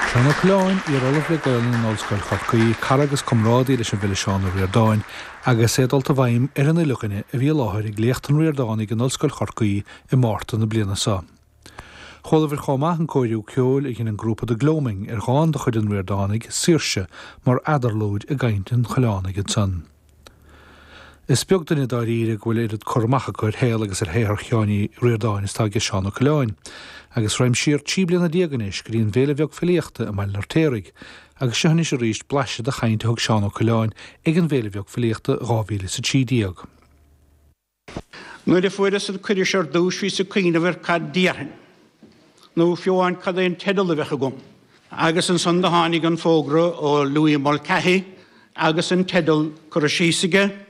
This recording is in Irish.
Seán Ó Coileáin, iar-ollamh le Gaolainn in Ollscoil Chorcaí, cara agus comrádaí leis an bhfile Seán Ó Ríordáin, agus é dulta i bhfeidhm ar an uile dhuine a bhí i láthair ag Léacht an Ríordánaigh in Ollscoil Chorcaí i Márta na bliana seo. Chualabhair chomh maith an cóiriú ceoil a dhein an grúpa The Gloaming ar dhán de chuid an Ríordánaigh, Saoirse, mar eadarlúid i gcaint an Choileánaigh ansan. Is beag duine dáiríre go bhfuil oiread cur amach acu ar shaol agus ar shaothar Sheáin Uí Ríordáin is atá aige Seán Ó Coileáin. Agus raghaim siar 13 bliana anois go dtí an bhFéile Bheag Filíochta i mBaile an Fheirtéaraigh. Agus seo anois arís blaiseadh de chaint a thug Seán Ó Coileáin ag an bhFéile Bheag Filíochta 2013. Nuair a fuaireas an cuireadh seo ar dtús bhíos ag cuimhneamh ar cad déarfainn, nó fiú amháin cad é an teideal a bheadh agam. Agus ansan do tháinig an fógra ó Louis Mulcahy agus an teideal curtha síos aige, Seán.